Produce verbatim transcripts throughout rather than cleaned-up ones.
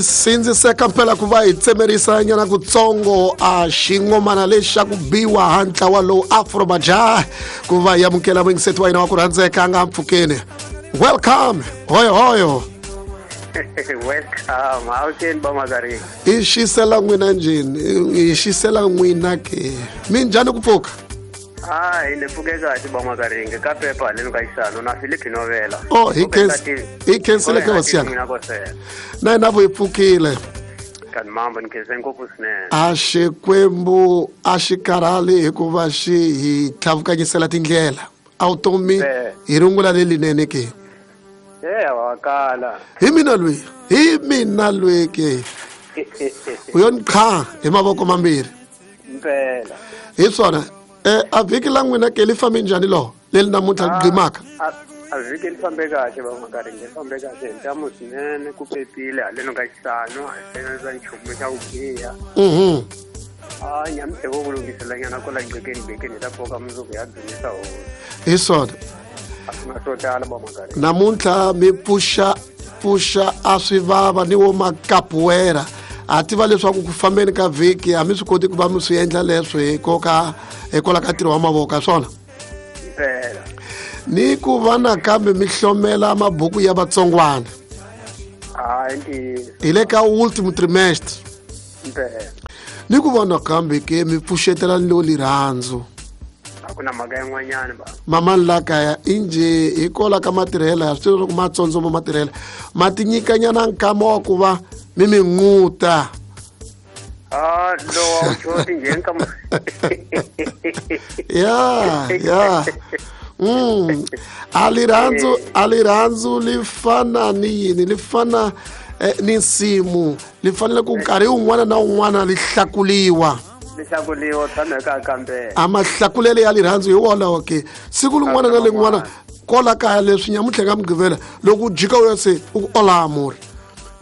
Sindziseka mpela ku va hi tsemerisa nyana kutsongo a xingomana lexi xa ku biwa ha ntlawa lowu Afro Majaha ku va hi amukela muyingiseti wa hina wa ku rhandzeka a nga mpfukeni. Welcome, hoyo hoyo. Welcome. How can ba Magaringa? I xisela n'wina njhani? I xisela n'wina ke. Minjhani ku pfuka? Ah, hi le pfuke kahle ba Magaringa ka pepa le ka xisano na Philip Novela. Oh, hi khensi hi khensile ke hosi yanga. Na hina vo hi pfukile. Kan mambo ni khense ngopfu swinene. A Xikwembu a xi karhali hikuva xi hi tlhavukanyisela tindlela. A vutomi hi rungula lelinene ke. Eh, wa kala. Hi mina lweyi, hi mina lweyi ke. U yo ni qha hi mavoko mambirhi. Mpela. Hi swona. Eh, a vhiki la n'wina ke li fambe njhani lo leri namuntlha li gqimaka? A vhiki li fambe kahle va Magaringa, li fambe kahle hi ntamu swinene, ku pepile haleno ka xisano, a hi hlengeleta nchumu xa ku biha. Mhm. A nyamutlha vo ku lunghiselanyana kwala gqekeni bekeni hi ta pfuka mundzuku hi ya dzunisa hosi. Hi swona. A swi na swo tala va Magaringa. Namuntlha mi pfuxa pfuxa a swi vava ni wo makapuwera. A tiva leswaku ku fambeni ka vhiki a mi swi koti ku va mi swi endla leswi hikoka hikwalaho ka ntirho wa mavoko a swona. Mpela. Ni ku va nakambe mi hlomela mabuku ya vatsongwana. Hayi ntiyiso. Hi le ka ultimo trimestre. Mpela. Ni ku va nakambe ke mi pfuxetela ni lo lirhandzu. A ku na mhaka yin'wanyana ba. Mamani la kaya injhe hikwalaho ka matirhelo ya swi tiva leswaku matsondzo ma matirhelo ma ti nyikanyana nkama wa ku va mi mi nquta. Ah, lowa wu choti njhani ka Ya, ya. Mm. A lirhandzu, a lirhandzu li fana ni yini? Li fana eh, ni nsimu. Li fanele ku nkarhi wun'wana na wun'wana li hlakuliwa. Li hlakuliwa tshama ka kambe. A mahlakulele ya lirhandzu hi wolawo ke. Siku rin'wana na rin'wana kwala kaya leswi nyamuntlha ka Mugqivela loko u jika u ya se u ku ola amor.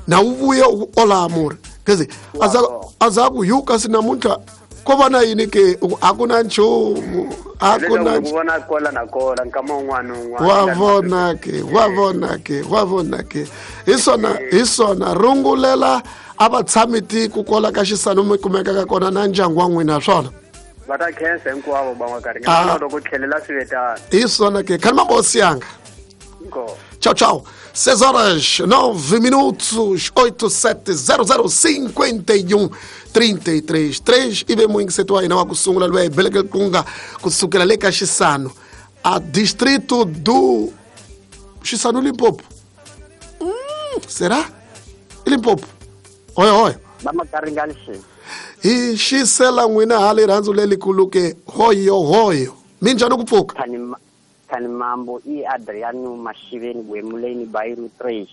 Na u vuya u ku ola amor. Kezi aza aza ku yu kasi namuntlha ko va na yini ke a ku na nchumu a ku na ku vona kola na kola nkama wun'wana wun'wana. Wa vona ke, wa vona ke, wa vona ke. Hi swona, hi swona rungulela a va tshami tiko kwala ka xisano mi kumeka ka kona na ndyangu wa n'wina swona. Va ta khensa hinkwavo va Magaringa na loko tlhelela swivetana. Hi swona ke, khani mabosi yanga. Inkomu. Tchau, tchau. seis horas, nove minutos, oito, sete, zero, zero, cinquenta e um, trinta e três, três. E vem muito que tu aí não acostuma lá, beleza kunga kusukela le ka Xisano, a distrito do Xisano Limpopo. Hum, será? Limpopo. Oi, oi. Ba Magaringa lexi. Hi xisela n'wina ha lirhandzu lelikulu ke hoyo hoyo. Minjhani ku pfuka? Kani mambo i Adriano Mashiveni Gwemuleni Bairu três.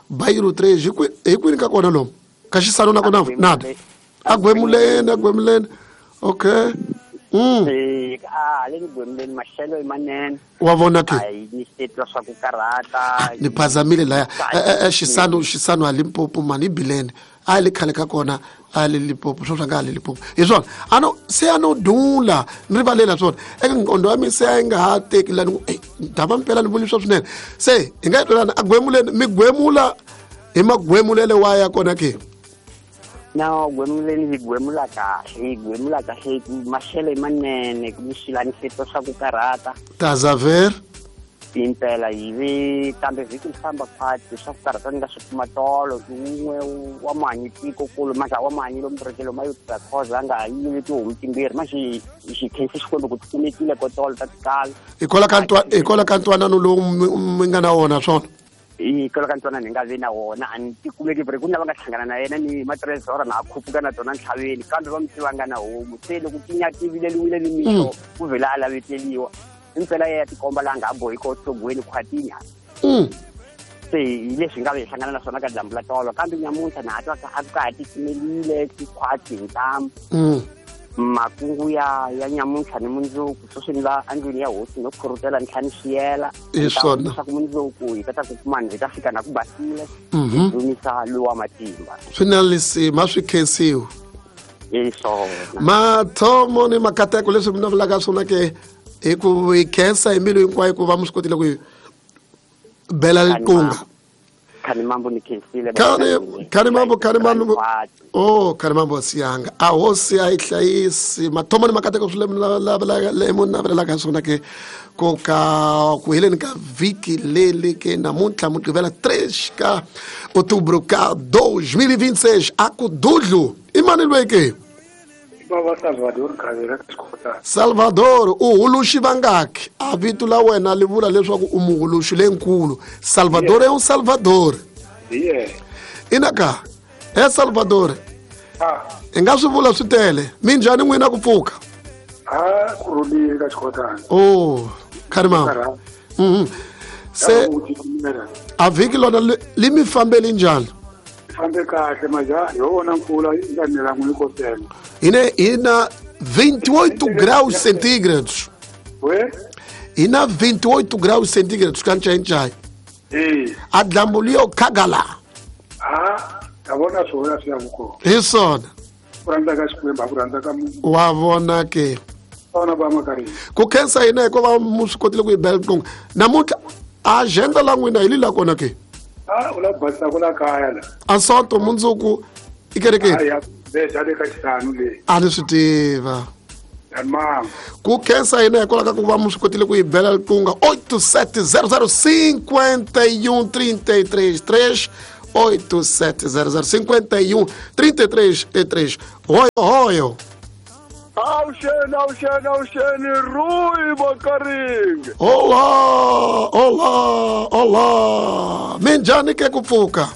Bairu três, hi kwini ka kona lomu? Ka Xisano na kona nada. A Gwemuleni, a Gwemuleni. Okay. Mm. Eh, ah, le Gwemuleni maxelo i manene. Wa vona ke? Ai, ni titwa swa ku karhata. Ni phazamile laya. Eh, eh, Xisano, Xisano a Limpopo mani bilene. A le khale ka kona a le Limpopo, swo swa nga le Limpopo. Hi swona. Ano se ano dula, ni rivalela swona. Eka nqondo wa mina se a yi nga ha teki lani ku, eh, dava mpela ni vuli swa swinene. Se hi nga twelana a Gwemuleni, mi gwemula hi magwemulele wa ya kona ke. Na Gwemuleni hi gwemula kahle, hi gwemula kahle maxelo i manene, ku mixilani swi swa ku karhata. Tazaver impela hi vi kambe vhiki li famba khwati swa ku karhata ni nga swi kuma tolo wun'we wa manyi tiko kulu manje wa manyi lomu rekelo ma yo tirha khoza a nga ha yivi tihomu timbirhi manje xi khensi Xikwembu ku ti kumekile ko tolo ta tikala. Hikwalaho ka ntwa hikwalaho ka ntwanano lowu mi nga na wona swona. Hikwalaho ka ntwanano hi nga vi na wona a ni ti kumeki ku na va nga hlangana na yena ni matrezora na a khupuka na tona ntlhaveni kambe va mi tiva nga na homu se loko ti nyativile ni mixo ku vhela a laveteliwa. Impela ya tikomba la nga bohi ko tsogweni khwatini. Mm. Se hi leswi nga vi hlangana na swona ka dyambu la tolo kambe nyamuntlha na ha twa ka a ka ha titimelile tikhwati hi ntamu. Mm. Makungu ya ya nyamuntlha ni mundzuku sweswi ni la endlwini ya hosi no khurutela ntlhanu xiyela. Hi swona. Leswaku mundzuku hi ta ta ku kuma hi ta fika na ku basile. Mhm. Dzunisa lowa matimba. Swi na lisima swi khensiwa. Hi swona. Mathomo ni makateko leswi mi navelaka swona ke hi ku hi khensa hi mbilu hinkwayo ku va mi swi kotile ku hi bela liqunga. Khani mambo ni khensile. Khani khani mambo khani mambo. Oh khani mambo siyanga. A hosi a yi hlayisi mathomo ni makateko swi la la la le munhu navelaka swona ke ku ka ku heleni ka vhiki leli ke namuntlha Mugqivela três ka outubro ka dois mil e vinte e seis a ku dudlu i mani loyi ke? Baba Salvador Khavera Xikotana. Salvador u huluxi vangaki? A vito la wena li vula leswaku u muhuluxi lenkulu. Salvador é um Salvador. Yeah. Inaka e Salvador. Ah. I nga swi vula swi tele. Minjhani n'wina ku pfuka? Ah, ku rhulile ka Xikotana. Oh, khani mama. Mhm. Se a vhiki lona li mi fambeli njhani? Fambe kahle maja hi wona mpfula yi nga nela n'wi kotela. Ine ina vinte e oito graus centígrados. We? Ina vinte e oito graus centígrados ka nchenchai. Eh. A dlambu liyo khagala. Ah, ta vona swona swi ya vuko. Hi swona. Ku rhandza ka Xikwembu, ku rhandza ka munhu. Wa vona ke. Vona va makarhi. Ku khensa hina hikuva mu swi kotile ku yi bela riqingho. Namuntlha agenda la n'wina hi li la kona ke? Ah, u la basisa ku la kaya la. A sonto mundzuku i kerekeni. Ya beja le ka xihlanu leyi. A ni swi tiva. Mama. Ku khensa hina hikwalaho ka ku va mu swi kotile ku yi bela riqingho. Oito sete zero zero cinquenta e um trinta e três três oito sete zero zero cinquenta e um trinta e três e três. Royo, royo. Awuxeni, awuxeni, awuxeni, Rui Makaringe. Olá, olá, olá. Minjhani ke ku pfuka?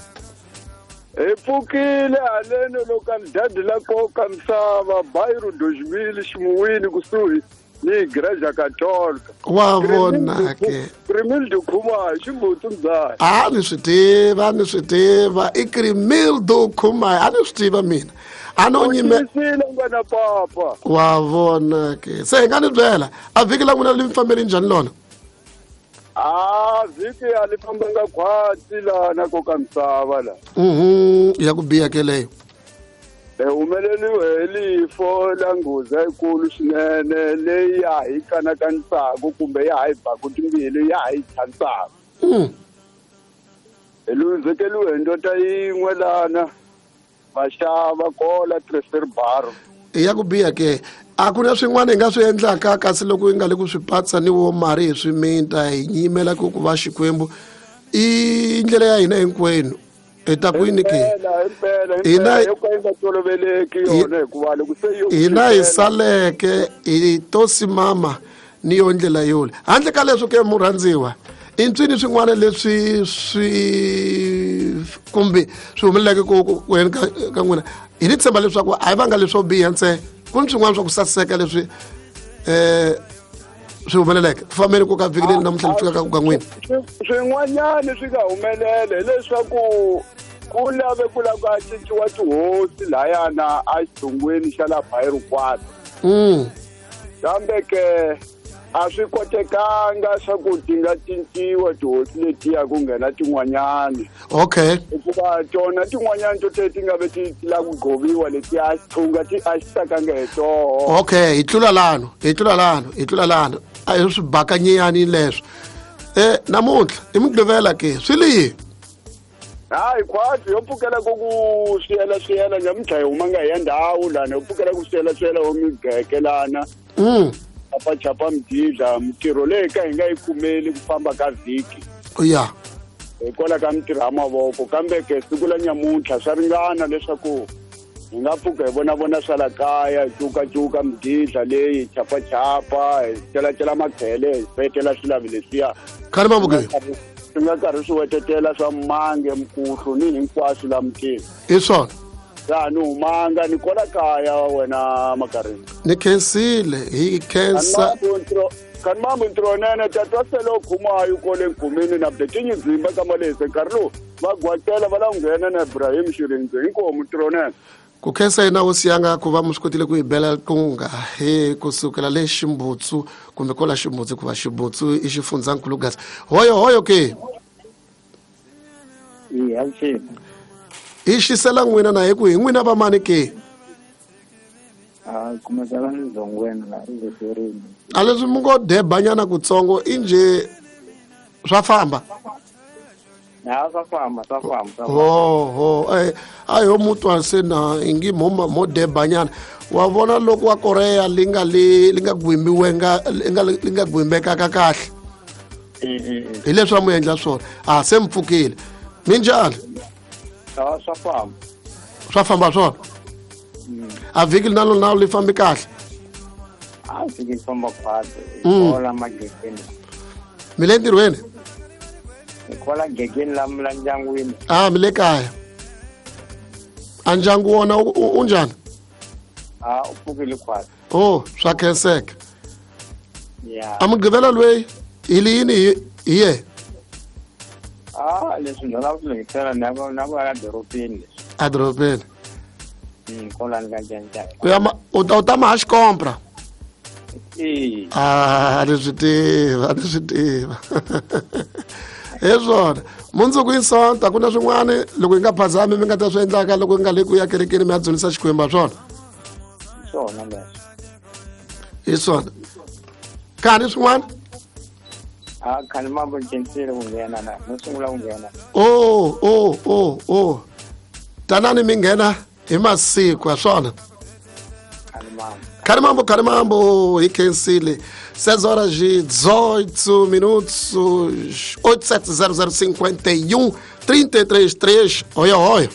Hi pfukile haleni localidade la Koka Misava, bairro dois mil, Ximuwini kusuhi ni Igreja Católica. Wa vona ke. Crimildo Khumalo, Ximbutsu mzala. A ni swi tiva, ni swi tiva. I Crimildo Khumalo, a ni swi tiva mina. A no nyime ngwana papa. Wa vona ke. Se hi nga ni byela, a vhiki la n'wina li mi fambeli njhani lona? Ah, vhiki a li fambanga khwatsi lana Koka Misava la. Mhm, ya ku biha ke leyo. Hi humeleliwe hi lifo la nghozi yikulu swinene leyi ya hi kanakanisaka kumbe ya ha hi baku timbilu ya ha hi chanisaka. Mm. Hi luzekeliwe hi ndota yin'we lana vaxava kola Tresor Bar. Ya ku biha ke. A ku na swin'wana hi nga swi endlaka kasi loko hi nga le ku swi patsa ni wo mari hi swi minta hi nyimela ku ku va Xikwembu i ndlela ya hina hinkwenu. Hi ta kwini ke? Hina yo ka yi nga toloveleki yona hikuva loko se yo hina hi saleke hi tosi mama ni yo ndlela yole. Handle ka leswo ke murhandziwa i ntswini swin'wana leswi swi kumbe swi humeleleke ku ku yena ka ka n'wina hi ni tshemba leswaku a hi vanga leswo biha ntsena ku ni swin'wana swa ku saseka leswi eh swi humeleleke ku fambeni ku ka vhiki leri namuntlha li fikaka ku ka n'wina. Swin'wanyana swi nga humelela hileswaku ku lave ku lava ku a cinciwa tihosi layana a xitsungwini xa la Bairro Quatro. Mm. Kambe ke a swi kotekanga swa ku ti nga cinciwa tihosi letiya ku nghena tin'wanyana. Okay. Hikuva tona tin'wanyana to te ti nga ve ti lava ku ghoviwa letiya xithunga ti a xi tsakanga hi toho. Okay, hi tlula lano, hi tlula lano, hi tlula lano. A hi swi bakanyiyani leswo. Eh namuntlha i Mugqivela ke swi li yini? Hayi khwatsi yo pfukela ku ku swiyela swiyela nyamuntlha hi huma nga hi ya ndhawu lana yo pfukela ku swiyela swiyela wo migeke lana. Mm. Chapa chapa mdidla mintirho leyi ka hi nga yi kumeli ku famba ka vhiki. Ya. Hikwalaho ka mintirho ya mavoko kambe ke siku la nyamuntlha swa ringana leswaku hi nga pfuka hi vona vona swa la kaya hi cukacuka mdidla leyi chapa chapa hi celacela makhele hi petela swilavi leswiya. Khani mambo ke? Swi nga karhi swi wetetela swa mange mkuhlu ni hinkwaswo la mutini. Hi swona. Ya ni humanga ni kola kaya wena Makaringe. Ni khensile hi khensa. Kani mambo ntirho nene tatwa sele khumayo kole nkhumini na byetinyi dzimba ka malese nkarhi lowu va gwatela va la nghena na Ibrahim Xirindze hinkomu ntirho nene. Ku khensa yena hosi yanga ku va mu swi kotile ku yi bela riqingho hi kusukela le Ximbutsu kumbe kola Ximbutsu ku va Ximbutsu i xifundzankulu Gaza. Hoyo hoyo ke. Eya awuxeni. Hi xisela n'wina na hi ku hi n'wina va mani ke? A kumeka la Ndzongweni la Riverini. A leswi mi ngo debanyana kutsongo i njhe swa famba? Na swa famba, swa famba, swa famba. Ho ho eh a yo mutwa se na ingi mo mo debanyana. Wa vona loko wa Korea linga li linga gwimbiwenga linga linga gwimbeka ka kahle. Hi leswi mu endla swona. A se mpfukile. Minjhani? Swa swa famba. Swa famba swona. A vhiki nalo na li fambi kahle. A vhiki famba kahle. Kola magegeni. Mi le ntirhweni? Kola gegeni la la ndyangwini. Ah, mi le kaya. A ndyangu wona u njhani? Ah, u pfukile khwatsi. Oh, swa khenseka. Yeah. A mugqivela loyi hi liyini hi ye? Ah, leswi ndzi lava ku lunghisela na ku na ku ya dorobeni leswi. A dorobeni. Mm, kola ni ka njhani. U ya u ta u ta ma ha xikompra. Eh. Ah, ni swi tiva, ni swi tiva. Hi swona. Mundzuku i Sonta ku na swin'wana loko hi nga phazami mi nga ta swi endlaka loko hi nga le ku ya kerekeni mi ya dzunisa Xikwembu swona. Swona leswi. Hi swona. Kani swin'wana? Ah, khani mambo ncencile ku nghena na no sungula ku nghena. Oh, oh, oh, oh. Tanani mi nghena hi masiku ya swona. Khani mambo. Khani mambo, khani mambo hi khensile. seis horas e dezoito minutos, oito sete zero zero cinco um três três três. Oi, oi.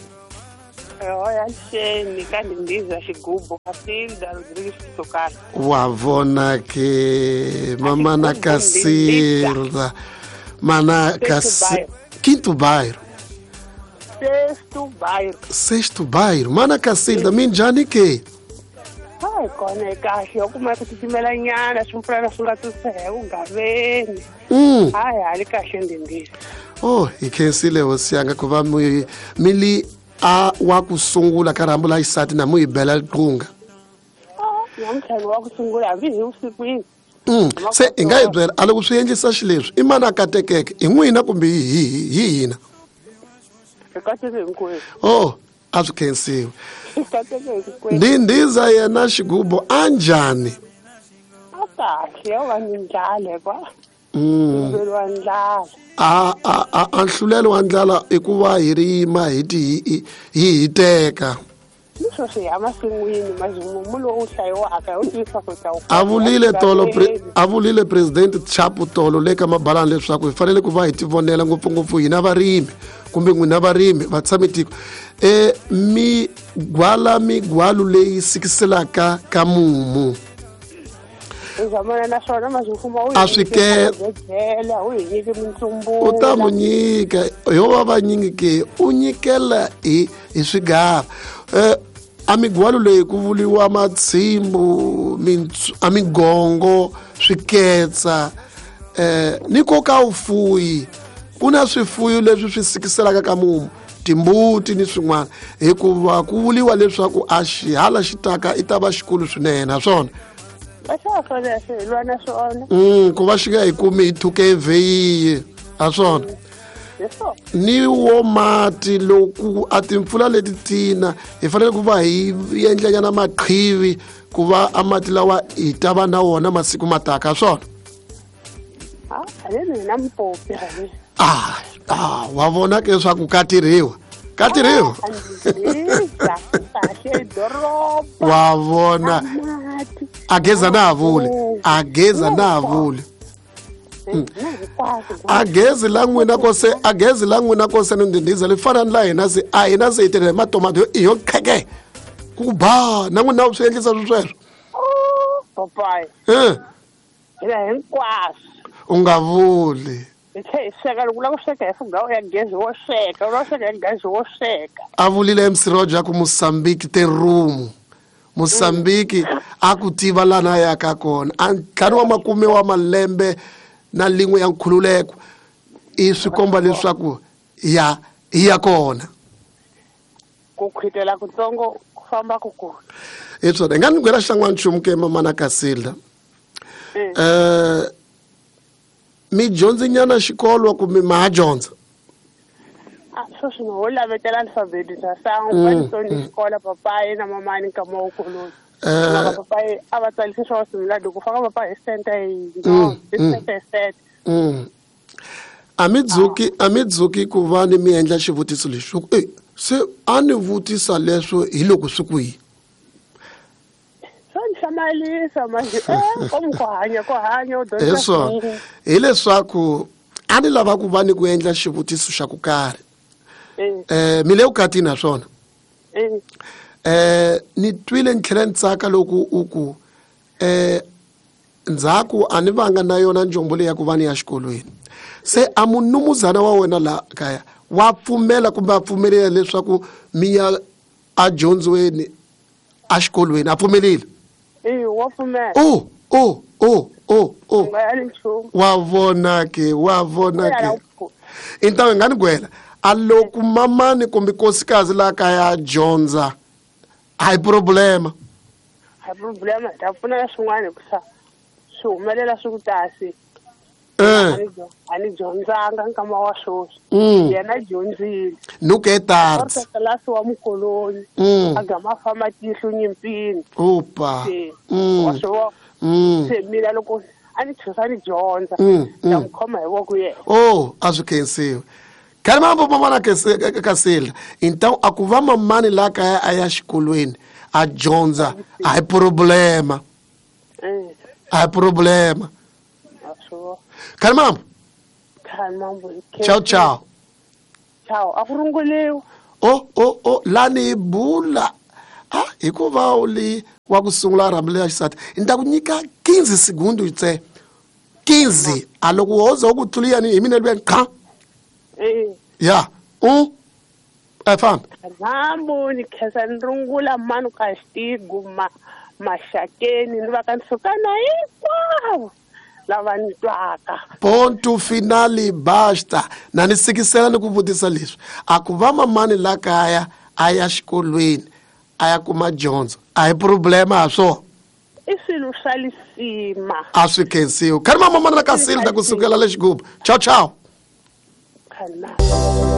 Oi, Alexandre, Kalindiza, Xigubo, Cacilda, Rodrigues Socaro. Wavona que mamana Cacilda, mana Cacilda, quinto bairro. Sexto bairro. Sexto bairro, mana Cacilda, minjani que? Ai, kona kahle u kuma ku titimela nyana swimpfulana swi nga tusehe u ngaveni. Mm. Hayi hali kahle ndindisa. Oh, hi khensile hosi yanga ku va mi mi li a wa ku sungula ka rhambu la xisati na mu hi bela riqunga. Ah, namuntlha ni wa ku sungula hambi hi vusikwini. Mm. Se hi nga hi byela a loko swi endlisa xileswi i mani a katekeke hi n'wina kumbe hi hi hi hina? Hi kateke hinkwenu. Oh, a swi khensiwi. Ndindiza yena Xigubo a njhani? A kahle yo va ni ndlala kwa. Mm. Wa ndlala. A a a a nhlulelo wa ndlala i ku va hi rima hi ti hi hiteka. Leswo swi ya masin'wini mazimumu lowu hlayiwaka u tivisa ku ta u. A vulile tolo a vulile president Chapo tolo le ka mabalani leswaku hi fanele ku va hi tivonela ngopfungopfu hina varimi kumbe n'wina varimi va tshame tiko e migwala migwalu leyi sikiselaka ka mumu. A swi ke u ta mu nyika yo va vanyingi ke u nyikela hi hi swigava eh a migwalu leyi ku vuliwa matshimbu a migongo swiketsa eh ni koka ufuyi ku na swifuyo leswi swi sikiselaka ka mumu timbuti ni swin'wana hikuva ku vuliwa leswaku a xihala xi taka i ta va xikulu swinene naswona mm ku va xi nga hi kumi hi thuke evheyiye a swona ni wo mati loko a timpfula leti tina hi fanele ku va hi endlanyana maqhivi ku va a mati lawa hi ta va na wona masiku mataka swona. Ah, ah, wa vona ke leswaku ka tirhiwa ka tirhiwa wa vona a geza na ha vuli a geza na ha vuli a gezi la n'wina kose a gezi la n'wina kose ni ndindiza li fana ni la hina se a hina se hi tirha hi matomato i yo kheke ku ba na n'wina swi endlisa swi sweswo. Papayi eh hina hinkwaswo u nga vuli hi tlhe hi sweka loko u lava ku sweka hi fugawu ya gezi wo sweka u lava ku sweka hi gezi wo sweka. A vulile M C Roger ku Mozambique te room Mozambique a ku tiva lana ya ka kona a ntlhanu wa makume wa malembe na lin'we ya nkhululeko i swi komba leswaku ya hi ya kona ku khwitela kutsongo ku famba ku kula. Hi swona hi nga ni gwela xan'wana nchumu ke mamana Kasilda eh mi dyondzinyana xikolo kumbe ma ha dyondza? A sweswi ni ho lavetela alfabeti bya sangu va ni tsoni xikolo papayi na mamani nkama wu koloni. Eh papayi a va tsalise swa simulado ku faka papayi hi center hi hi center hi center. Mm. A mi dzuki a mi dzuki ku va ni mi endla xivutiso lexi e se a ni vutisa leswo hi loko swi kwihi swa ni hlamalisa manje eh komu ku hanya ku hanya u hi dyondza swona hileswaku a ni lava ku va ni ku endla xivutiso xa ku karhi eh mi le vukatini na swona eh ni twile ni tlhela ni tsaka loko u ku eh ndzhaku a ni vanga na yona njombo leyi ya ku va ni ya xikolweni se a munumuzana wa wena la kaya wa pfumela kumbe a pfumelela leswaku mi ya edyondzweni exikolweni a pfumelile e wa pfumela o o o o o nga yali nchumu wa vona ke wa vona ke então hi nga ni gwela a loko mamani kumbe nkosikazi la kaya a dyondza a hi problema a problema ta pfuna swin'wana hikusa swi humelela swi ku tasi eh a ni dyondzanga nkama wa sweswi Mm. yena dyondzile nuke e tarde tlilasi wa mukoloni Mm. a gama a famba tihlo nyimpini opa se Mm. wa swi vona Mm. se mina loko a ni chusa ni dyondza Mm, ta mm. n'wi khoma hi voko yena oh a swi khensiwi khale mambo mamana Kasilda então a ku va mamani la kaya a ya xikolweni a dyondza a hi problema Eh, a hi problema wa swi vona khale mambo khale mambo ciao ciao ciao a ku runguliwi o o o lani hi bula a hikuva u li wa ku sungula rhambu leya xisati ni ta ku nyika quinze segundo ntsena quinze a loko wo za u ku tluliyani hi mina luya qha eh ya u e famba mambo ni khensa ni rungula manu ka xitigu ma maxakeni ni va ka ni suka na hinkwavo lava ni twaka ponto finale basta na ni sikisela ni ku vutisa leswi a ku va mamani la kaya a ya xikolweni a ya kuma dyondzo a hi problema ha swona i swilo swa lisima a swi khensiwi khani mamamani la ka Silda kusukela le xigubu ciao ciao khani